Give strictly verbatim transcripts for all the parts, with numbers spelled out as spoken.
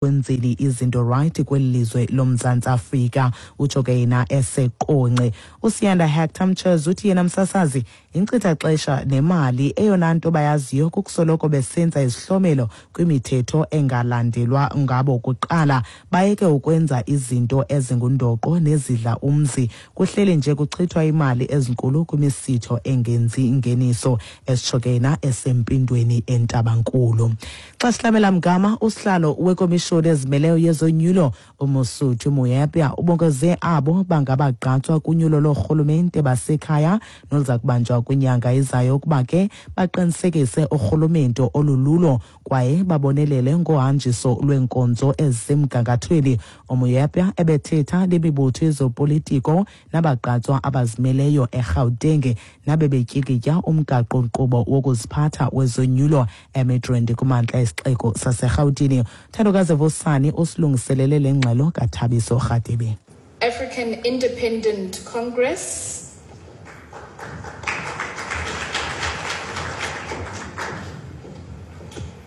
Kwenzeni izinto right kweli lizwe loMzantsi Afrika, utsho ke yena eseQonce. USiyanda Hector Mchez uthi yena msasazi inkcitha xesha nemali, eyona nto bayaziyo kukusoloko besenza izihlomelo kwimithetho engalandelwa ngabo kuqala, bayeke ukwenza izinto ezingundoqo nezidla umzi. Kuhleli nje kuchithwa imali ezinkulu kwimisitho engenzi ingeniso, esitsho ke yena esempindweni eNtabankulu. Xa sihlabela mgama, usihlalo wekomishoni ezimeleyo yezonyulo uMosotho Moepya ubongoze abo bangabagqatswa kunyulo loorhulumente basekhaya noluza kubanjwa kwinyanga ezayo ukuba ke baqinisekise urhulumento olululo kwaye babonelele ngohanjiso lweenkonzo ezisemgangathweni. UMoepya ebethetha nemibutho yezopolitiko nabagqatswa abazimeleyo eGauteng nabebetyikitya umgaqo-nkqubo wokuziphatha wezonyulo eMidrand kumantla esixeko saseRhawutini. Thandokazi Vosani usilungiselele le ngxelo kaThabiso Rhadebe. African Independent Congress.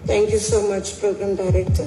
Thank you so much, Program Director.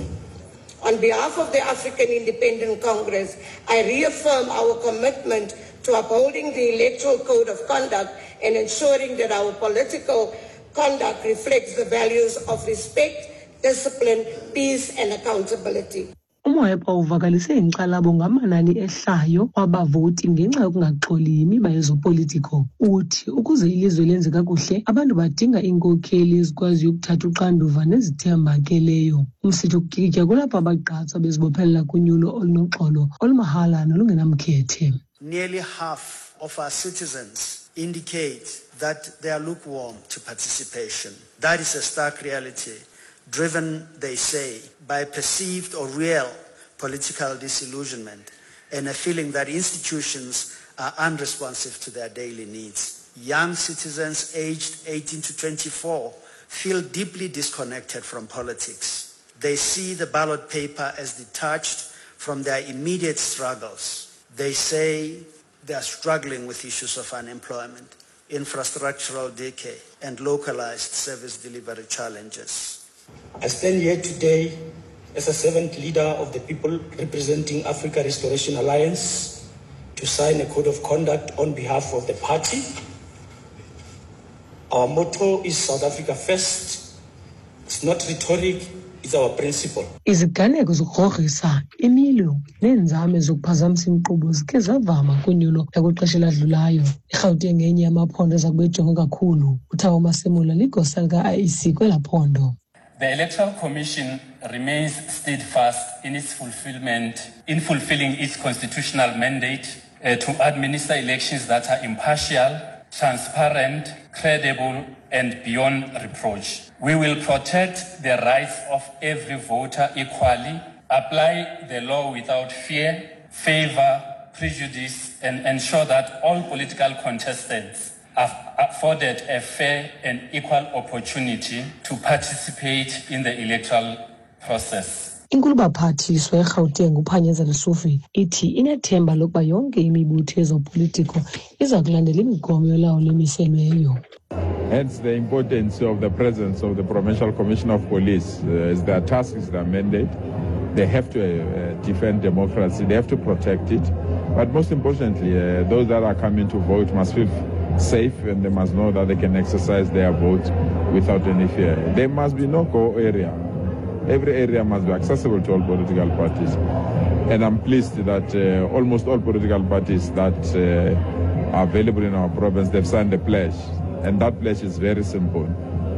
On behalf of the African Independent Congress, I reaffirm our commitment to upholding the Electoral Code of Conduct and ensuring that our political conduct reflects the values of respect, discipline, peace and accountability. UMoepa uvakalise inkxalabo ngamanani ehlayo kwabavoti ngenxa yokungaxoli yimiba yezopolitiko. Uthi ukuze ilizwe lenze kakuhle, abantu badinga iinkokheli ezikwaziyo ukuthatha uxanduva nezithembakeleyo. Umsitho wokutyikitya kulapho abagqatswa bezibophelela kunyulo olunoxolo, olumahala nolungenamkhethe. Nearly half of our citizens indicate that they are lukewarm to participation. That is a stark reality, driven, they say, by perceived or real political disillusionment and a feeling that institutions are unresponsive to their daily needs. Young citizens aged eighteen to twenty-four feel deeply disconnected from politics. They see the ballot paper as detached from their immediate struggles. They say they are struggling with issues of unemployment, infrastructural decay, and localized service delivery challenges. I stand here today as a servant leader of the people representing Africa Restoration Alliance to sign a code of conduct on behalf of the party. Our motto is South Africa first. It's not rhetoric, it's our principle. Iziganeko zokugrogrisa, imilo neenzame zokuphazamisa inkqubo zikhe zavama kunyulo lakwixesha eladlulayo. IGauteng ngenye yamaphondo eza kube ejongwe kakhulu. UThabo Masemola ligosa lika-I E C kwelaa phondo. The Electoral Commission remains steadfast in its fulfillment, in fulfilling its constitutional mandate, uh, to administer elections that are impartial, transparent, credible, and beyond reproach. We will protect the rights of every voter equally, apply the law without fear, favor, prejudice, and ensure that all political contestants are afforded a fair and equal opportunity to participate in the electoral process. Inkulubaphathiswa eGauteng uPanyaza Lesufi ithi inethemba lokuba yonke imibutho yezopolitiko iza kulandela imigomo yolawulo emiselweyo. Hence the importance of the presence of the Provincial Commissioner of Police. Uh, is their task, is their mandate. They have to uh, defend democracy, they have to protect it. But most importantly, uh, those that are coming to vote must feel safe and they must know that they can exercise their vote without any fear. There must be no go area. Every area must be accessible to all political parties. And I'm pleased that, uh, almost all political parties that, uh, are available in our province, they've signed a pledge. And that pledge is very simple.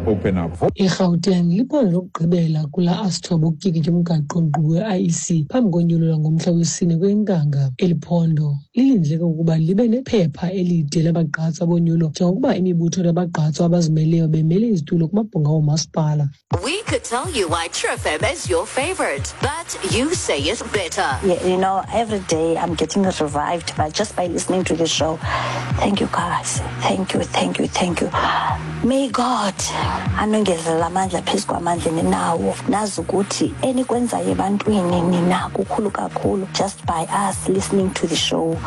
Open up. IGauteng liphondo lokugqibela kula asithoba ukutyikitya umgaqo-nkqubo we-I E C phambi konyulo lwangomhla wesine kweNkanga. Eli phondo lilindeleke ukuba libe nephepha elide labagqatswa bonyulo njengokuba imibutho yabagqatswa abazimeleyo bemele izitulo kumabhunga oomasipala. We could tell you why True F M is your favorite, but you say it better. Yeah, you know, every day I'm getting revived by just by listening to the show. Thank you, guys. Thank you, thank you, thank you. May God Anongezelela amandla phezu kwamandla ninawo. Nazi ukuthi enikwenzayo ebantwini nina kukhulu kakhulu just by us listening to the show.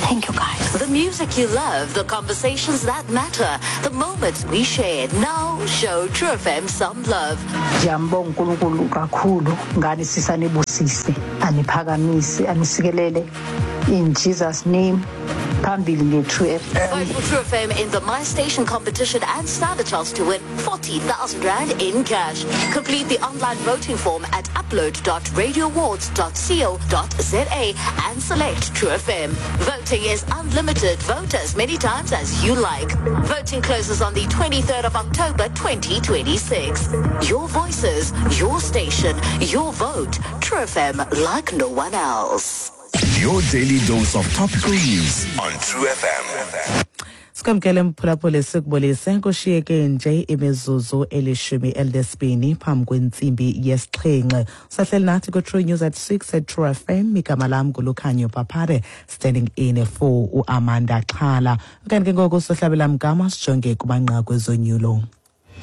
Thank you guys. The music you love, the conversations that matter, the moments we share. Now show True F M some love. Ndiyambonga uNkulunkulu kakhulu ngani sisanibusise, aniphakamise, anisikelele in Jesus' name. Phambili nge-True F M. Vote for True F M in the My Station competition and stand a chance to win forty thousand rand in cash. Complete the online voting form at upload dot radioawards dot co dot za and select True F M. Voting is unlimited. Vote as many times as you like. Voting closes on the twenty-third of October twenty twenty-six. Your voices, your station, your vote. True F M, like no one else. Your daily dose of topical news on True F M. Sikwamkele mphulaphuli, sikubulise. Kushiyeke nje imizuzu elishumi elinesibini phambi kwentsimbi yesixhenxe. Sahleli nathi kwi-True News at six at True F M. Igama lam nguLukhanyo Paphare, standing in for uAmanda Xhala. Okanye ke ngoku sohlabela mgama sijonge kumanqaku ezonyulo.